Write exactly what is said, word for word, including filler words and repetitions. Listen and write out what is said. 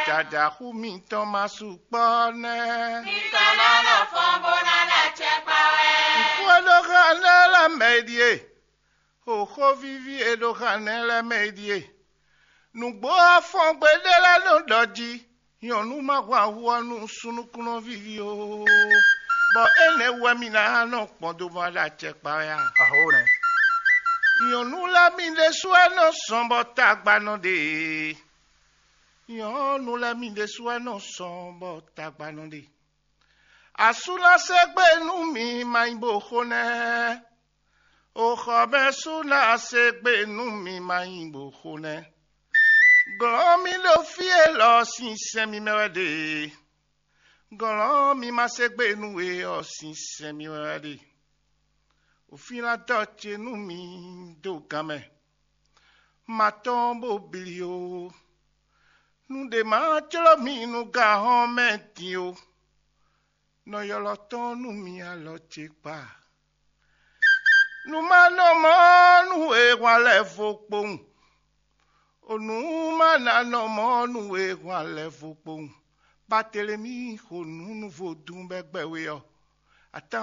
Jǎjǎxú mitɔn ma sukpɔ́ nɛ́. Mitɔn ná nɔ fɔ́n bó ná ná acɛ kpa wɛ. Nǔkú e ɖó xá nɛ́ lɛ́ɛ mɛ e ɖíe. Xóxó víví e ɖó xá nɛ́ lɛ́ɛ mɛ e ɖíe. Nǔgbó afɔngbe ɖé lɛ́ɛ nɔ ɖɔ jí. Nyɔ̌nu ma hwan hu ɔ́ nú súnnu kúnɔ víví ó, bɔ énɛ́ wɛ mi ná nɔ gbɔn do ma ɖo acɛ kpa wɛ a? Aho nɛ́. Nyɔ̌nu lɛ́ɛ mi ɖésú wɛ nɔ zɔn bɔ tagba nɔ ɖe. Nyɔ̌nu lɛ́ɛ mi ɖésú wɛ nɔ zɔn bɔ tagba nɔ ɖe. Asú ná se gbe nú mi ma nyí bo xo nɛ́. Oxɔmɛsú ná se gbe nú mi ma nyí bo xo nɛ́. Glɔ̌n mi ɖo fí élɔ́ sín sɛn mi mɛ wɛ ɖe. Glɔ̌n mi ma se gbe nú we ɔ́ sín sɛn mi wɛ wɛ ɖe. Òfínlátɔ́ ce nú mi dó gan mɛ. Ma tɔ́n bó bli ó. Nú ɖě ma jló mi nú gǎn hɔn mɛ din ó. Nɔ ylɔ́ tɔn nú mi alɔ ce kpa. Nú má nɔ mɔ nú e hwan lɛ́ vo kpowun. O nǔ má ná nɔ mɔ nú e hwan lɛ́ vo kpowun. Batelemi xo nǔ nú vodún bɛ́ gbɛ́ we ɔ́. Atán